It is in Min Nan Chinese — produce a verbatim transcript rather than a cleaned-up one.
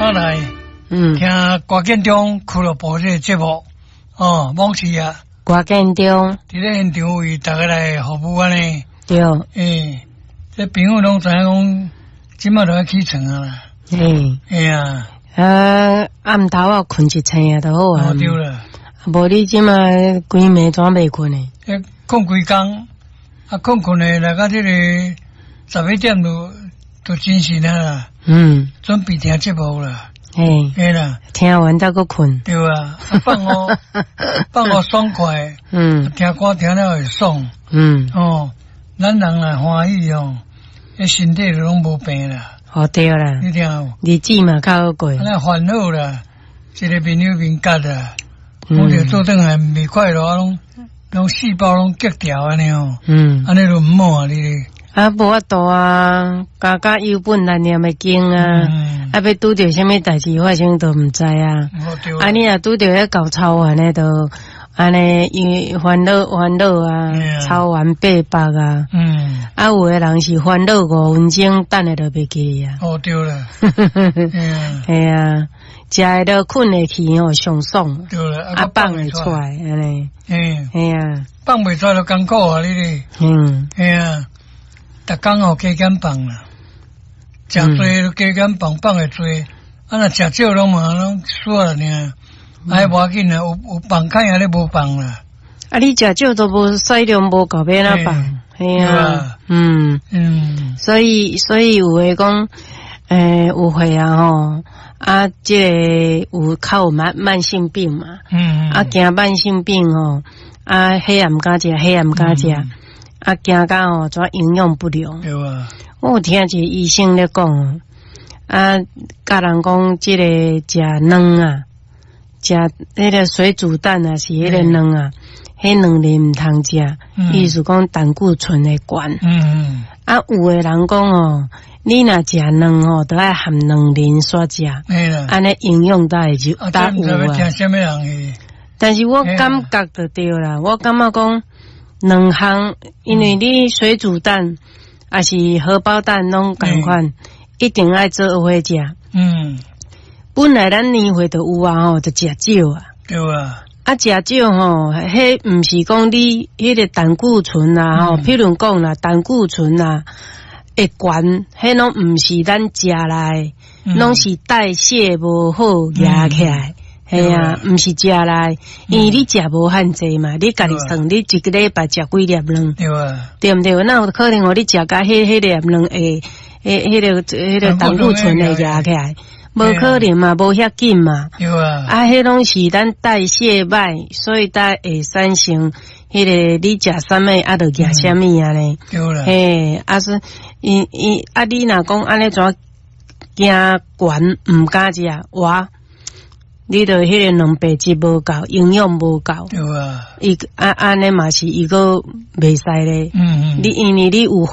我來嗯，聽歌建中俱樂部這個節目，哦，網視啊，歌建中，佇咧現場為大家來服務按呢。對，欸，這朋友攏知影講，這馬就愛起床啊啦。嘿，嘿啊，啊，暗頭仔睏一醒啊，就好啊。哦對啦，無你這馬規暝怎袂睏的？欸，睏規工，啊，睏睏的來到這个十一點就就精神啊啦，嗯，準備聽節目啦。嘿，嘿啦，聽完才閣睏。對啊，啊放予放予爽快，嗯聽歌聽了會爽。嗯，哦，咱人若歡喜哦，彼身體就攏無病啦。哦對啦，你聽有？日子嘛較好過。啊咱煩惱啦，一个面憂面結啦，嗯講著做轉來袂快樂，啊攏攏細胞攏激掉按呢哦，嗯，按呢就毋好啊，你咧。啊，無法度啊，家家有本難念的經啊，嗯，啊，欲拄著啥物代誌發生都毋知啊。哦對啊，你若拄著彼厚草原的，就按呢，因為煩惱煩惱啊，草原八百啊。嗯。啊，有的人是煩惱五分鐘，等下就袂記啊。哦對啦。嘿啊，食會落睏會去吼，上爽。對啦，啊放會出來按呢。嗯。嘿啊。放袂出來就艱苦啊，你咧。嗯。嘿啊，逐工吼加減放啦，食濟就加減放，放會濟。啊，若食少攏嘛攏輸啊爾。哎，無要緊啦，有有放較贏咧無放啦。啊，你食少都無劑量無夠，欲按怎放？嘿啊，嗯嗯，所以所以有的講，欸，有歲啊吼，啊，這个有較有慢慢性病嘛，嗯啊，驚慢性病吼，啊，彼也毋敢食，彼也毋敢食，啊，驚到吼怎營養不良。對啊。我有聽一个醫生咧講，啊，教人講這个食卵啊，食彼个水煮蛋啊，是彼个卵啊，彼卵你毋通食，意思講膽固醇會懸。嗯嗯。啊，有的人講哦，你若食卵吼，都愛含卵磷煞食，按呢營養才會就才有啊。但是我感覺就對啦，我感覺講兩項，因為你水煮蛋抑是荷包蛋攏仝款，一定愛做伙食。嗯。本來咱年歲就有啊吼，就食少啊。對啊。啊，食少吼，彼毋是講你彼个膽固醇啊吼，譬如講啦，膽固醇啊會懸，彼攏毋是咱食來，攏是代謝無好惹起來。嘿啊，毋是食來，因為你食無遐濟嘛，你家己算，你一个禮拜食幾粒卵？對啊。對毋對？哪有可能予你食甲彼彼粒卵會，彼彼个彼个膽固醇會惹起來？無可能嘛，無遐緊嘛。對啊。啊，彼攏是咱代謝歹，所以才會產生彼个你食啥物啊，就惹啥物按呢。對啦。嘿，啊是，伊伊啊，你若講按呢怎驚懸，毋敢食，哇！你著彼个蛋白質無夠，營養無夠。對啊。伊啊按呢嘛是伊閣袂使咧。嗯嗯。你因為你有。